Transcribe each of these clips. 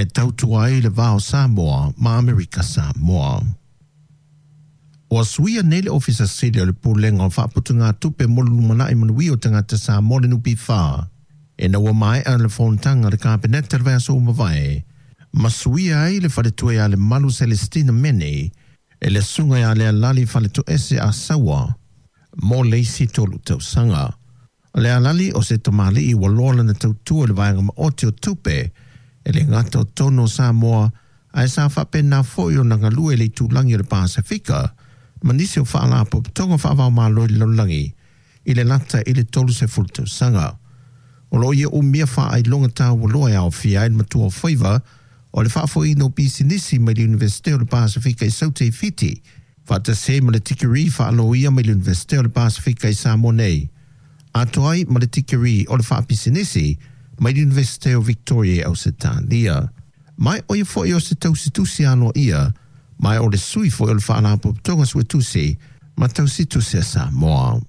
E tautua ai le va o Samoa ma Amerika Samoa. Ua suia nei le Ofisa Sili o le Pulega o Faaputugatupe mo le Lumanai Manuia o Tagata Samoa le NPF, ina ua maea le fonotaga a le Kapeneta i le vaiaso ua mavae, ma suia ai le faletua ia Lemalu Celestina Mene e le susuga ia Lealali Faletoese Asaua mo le isi 3 tausaga. O Lealali o se tamalii ua loa lana tautua i le vaega maoti o tupe e le gata o totonu o Samoa, ae sa faapena foi ona galue i le itulagi o le Pasefika ma nisi o faalapotopotoga faava-o-Malo i le lalolagi i le lata i le 30 tausaga. O lo o ia umia faailoga taualoa e aofia ai le matua o faiva o le faafoeina o pisinisi mai le Iunivesite o le Pasefika i Saute i Fiti, faatasi ai ma le tikeri faaloia mai le Iunivesite o le Pasefika i Samoa nei, atoa ai ma le tikeri o le faapisinisi mai le Iunivesite o Victoria i Ausetalia. Ma o ia foi o se tausitusi aloaia, ma o le sui foi o le Faalapotopotoga Suetusi ma Tausitusi a Samoa.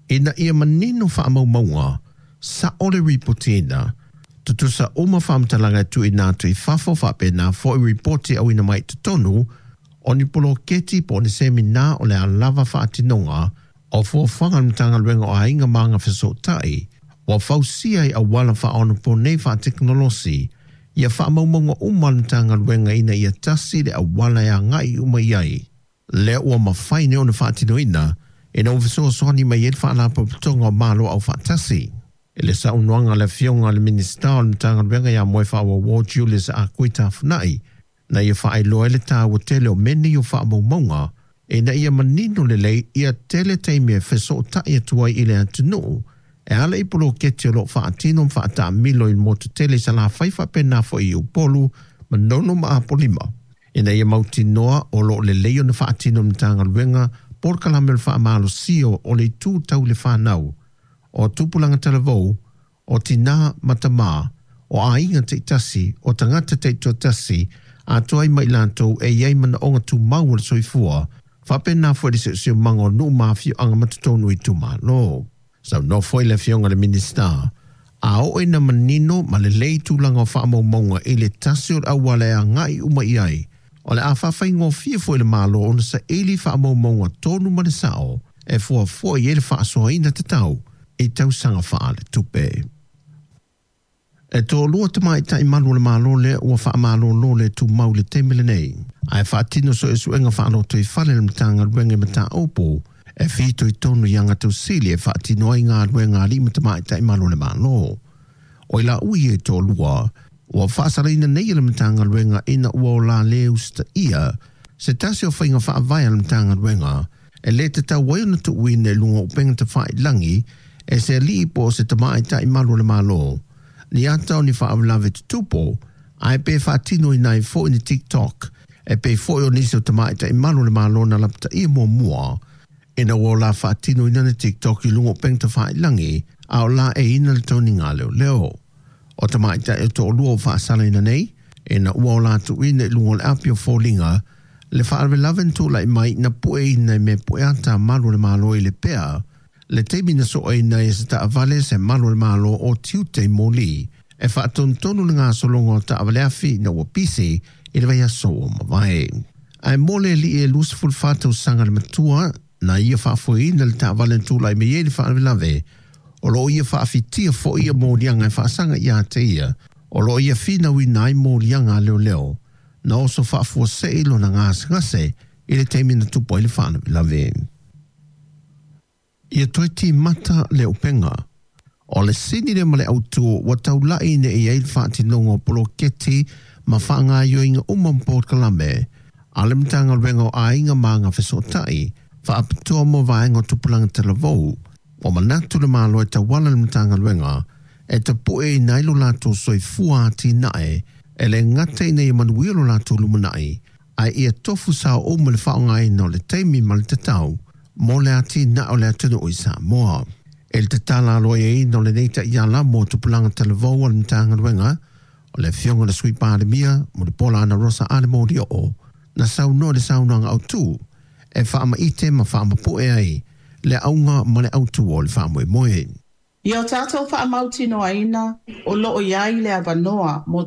Ina ia manino faamaumauga, sa'o le ripotiina, tutusa uma faamatalaga e tuuina atu i fafo faapena foi ripoti auina mai i totonu o ni poloketi po o ni semina o le a lava faatinoga o fuafuaga a le Matagaluega o Aiga ma Agafesootai, ua fausia i auala faaonaponei faatekonolosi ia faamaumauga uma a le Matagaluega ina ia tasi le auala e agai uma i ai. Lea ua mafai nei ona faatinoina ina ua fesoasoani mai ai le Faalapotopotoga o Malo Aufaatasi. I le saunoaga a le Afioga i le Minisita o le Matagaluega ia Moefaauouo Julius Ah Kui Tafuna'i, na ia faailoa ai le taua tele o mea nei o faamaumauga ina ia manino lelei ia tele taimi e fesootai atu ai i le atunuu e ala i poloketi o lo o faatino ma faataamilo i le motu tele i Salafai faapena foi i Upolu, Manono ma Apolima, ina ia mautinoa o lo o lelei ona faatino e le Matagaluega polokalame o le faamalosia o le itu tau le fanau, o tupulaga talavou, o tinā ma tamā, o aiga taitasi, o tagata taitoatasi, atoa ai ma i latou e i ai manaoga tumau o le soifua, faapena foi le siosiomaga o nuu ma afioaga ma totonu o itumalo. Saunoa foi le Afioga i le Minisita, a oo ina manino ma lelei tulaga o faamaumauga i le tasi o le auala e agai uma i ai, o le a faafaigofie foi i le Malo ona saili faamaumauga tonu ma le sao e fuafua i ai le faasoaina tatau i tausaga faaletupe. E toalua tamaitai malu o le Malo lea ua faamalolo le tumau i le taimi lenei, ae faatino suesuega faalotoifale a le Matagaluega i mataupu e fitoitonu i agatausili e faatino ai galuega a alii ma tamaitai malu o le Malo. O i laua ia e toalua, ua faasalaina nei e le Matagaluega ina ua o la le usitaia se tasi o faiga faavae a le Matagaluega e le tatau ai ona tuuina i luga o upega tafailagi e se alii po o se tamaitai malu o le Malo ni ata o ni faalavelave tutupu, ae pe faatinoina ai foi ni TikTok e pei foi o nisi o tamaitai malu o le Malo na lapataia muamua ina ua o la faatinoina ni TikTok i luga o upega tafailagi a o laeiina le toniga a leoleo. O tamaitai e toalua ua faasalaina nei, ina ua o la tuuina i luga o le api o foliga le faalavelave na tulai mai na pueina i mea pueata a malu o le Malo i Lepea, le taimi na soaina ai e se taavale se malu o le Malo o tiute i moli e faatonutonu le gasologa o taavale afi ina ua pisi i le vaiaso ua mavae. Ae mo le alii e 24 tausaga le matua na ia faafoeina le taavale na tulai mai ai le faalavelave, o lo o ia faafitia foi ia moliaga e faasaga ia te ia, o lo o ia finauina ai moliaga a leoleo na oso faafuasei lona gasegase i le taimi na tupu ai le faalavelave. Ia toe timata le upega. O le sini lea ma le autu ua taulai ina i ai le faatinoga o poloketi ma faagaoioiga uma ma polokalame a le Matagaluega o Aiga ma Agafesootai faapitoa mo vaega o tupulaga talavou. Ua manatu le Malo e tauala i le Matagaluega e tapueina ai lo latou soifua atinae e le gata ina ia manuia lo latou lumanai, ae ia tofu sao uma le faaaogaina o le taimi ma le tatau mo le atinae o le atunuu i Samoa. I le tatala aloaiaina o lenei taiala mo tupulaga talavou a le Matagaluega, o le Afioga i le Sui Palemia Mulipola Anarosa Ale Molioo na saunoa i le saunoaga autu e faamaite ma faamapue ai le auga ma le autu o le faamoemoe. Ia o tatou faamautinoaina o loo i ai le avanoa mo